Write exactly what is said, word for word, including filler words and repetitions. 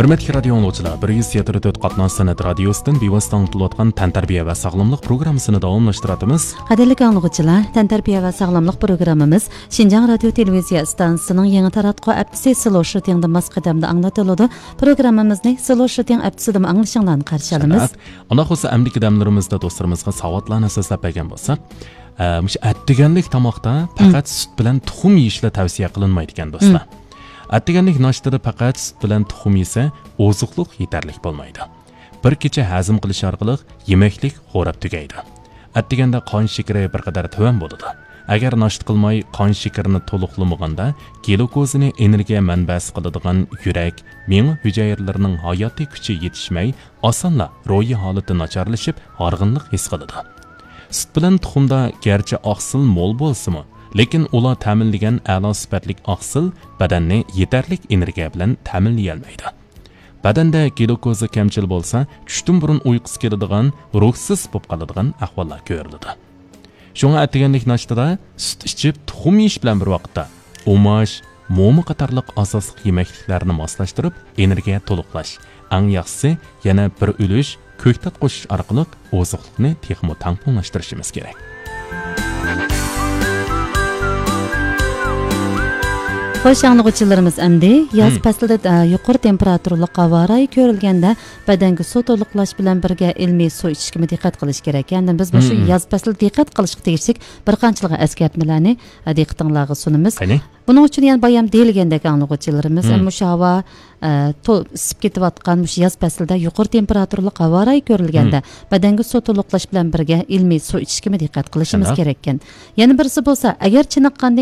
ھۆرمەتلىك رادىيو ئاڭلىغۇچىلار، بىر يۈز يەتتە تۆت قاتناش سەنئەت رادىيوسىدىن بىۋاسىتە ئاڭلىتىلىۋاتقان تەنتەربىيە ۋە ساغلاملىق پروگراممىسىنى داۋاملاشتۇراتىمىز. قەدىرلىك ئاڭلىغۇچىلار، تەنتەربىيە ۋە ساغلاملىق پروگراممىمىز شىنجاڭ رادىيو تېلېۋىزىيە ئىستانسىسىنىڭ يېڭى تاراتقۇ ھەپتىسى سلو شۇتىڭدا ماس قەدەمدە ئاڭلىتىلىدۇ. پروگراممىمىزنى سلو شۇتىڭ ھەپتىسىدىمۇ ئاڭلىشىڭلارنى قارشى ئالىمىز. شۇنداق. ئانداق بولسا ئەمدىكى دەملىرىمىزدە دوستلىرىمىزغا ساۋاتلارنى سۆزلەپ بەرگەن بولساق، ئە، مۇشۇ ئەتىگەنلىك تاماقتا پەقەت سۈت بىلەن تۇخۇم يېيىشلا تەۋسىيە قىلىنمايدىكەن، دوستلار. ئەتىگەنلىك ناشتىدا پەقەت سۈت بىلەن تۇخۇم يېسە، ئوزۇقلۇق يېتەرلىك بولمايدۇ. بىر كېچە ھەزىم قىلىش ئارقىلىق يېمەكلىك خوراپ تۈگەيدۇ. ئەتىگەندە قان شېكىرى بىر قەدەر تۆۋەن بولىدۇ. ئەگەر ناشتا قىلماي، قان شېكىرىنى تولۇقلىمىغاندا، گلۇكوزىنى ئېنېرگىيە مەنبەسى قىلىدىغان يۈرەك، مېڭە ھۈجەيرىلىرىنىڭ ھاياتىي كۈچى يېتىشمەي، ئاسانلا روھىي ھالىتى ناچارلىشىپ، ھارغىنلىق ھېس قىلىدۇ. سۈت بىلەن تۇخۇمدا گەرچە ئاقسىل مول بولسىمۇ، لېكىن ئۇلار تەمىنلىگەن ئەلا سۈپەتلىك ئاقسىل بەدەننى يېتەرلىك ئېنېرگىيە بىلەن تەمىنلىيەلمەيدۇ. بەدەندە گلۇكوزا كەمچىل بولسا، چۈشتىن بۇرۇن ئۇيقۇسى كېلىدىغان، روھسىز بولۇپ قالىدىغان ئەھۋاللار كۆرۈلىدۇ. شۇڭا ئەتىگەنلىك ناشتىدا سۈت ئىچىپ، تۇخۇم يېيىش بىلەن بىر ۋاقىتتا ئۇماش، موما قاتارلىق ئاساسلىق يېمەكلىكلەرنى ماسلاشتۇرۇپ، ئېنېرگىيە تولۇقلاش. ئەڭ ياخشىسى، يەنە بىر ئۈلۈش كۆكتات قوشۇش ئارقىلىق ئوزۇقلۇقنى تېخىمۇ تەڭپۇڭلاشتۇرۇشىمىز كېرەك. خوش، ئاڭلىغۇچىلىرىمىز، ئەمدى ياز پەسلىدە، ئە، يۇقىرى تېمپېراتۇرىلىق ھاۋا رايى كۆرۈلگەندە، بەدەنگە سۇ تولۇقلاش بىلەن بىرگە ئىلمىي سۇ ئىچىشكىمۇ دىققەت قىلىش كېرەك. ئەمدى بىز مۇشۇ ياز پەسلىدە دىققەت قىلىشقا تېگىشلىك بىر قانچىلىغان ئەسكەرتمىلەرنى، ئە، دىققىتىڭلارغا سۇنىمىز. قېنى؟ بۇنىڭ ئۈچۈن يەنە بايام دېيىلگەندەك، ئاڭلىغۇچىلىرىمىز، مم، مۇشۇ ھاۋا، ئە، تو-، ئىسسىپ كېتىۋاتقان مۇشۇ ياز پەسلىدە يۇقىرى تېمپېراتۇرىلىق ھاۋا رايى كۆرۈلگەندە، مم، بەدەنگە سۇ تولۇقلاش بىلەن بىرگە ئىلمىي سۇ ئىچىشكىمۇ دىققەت قىلىشىمىز، شۇنداق، كېرەككەن. يەنە بىرسى بولسا، ئەگەر چېنىققاندىن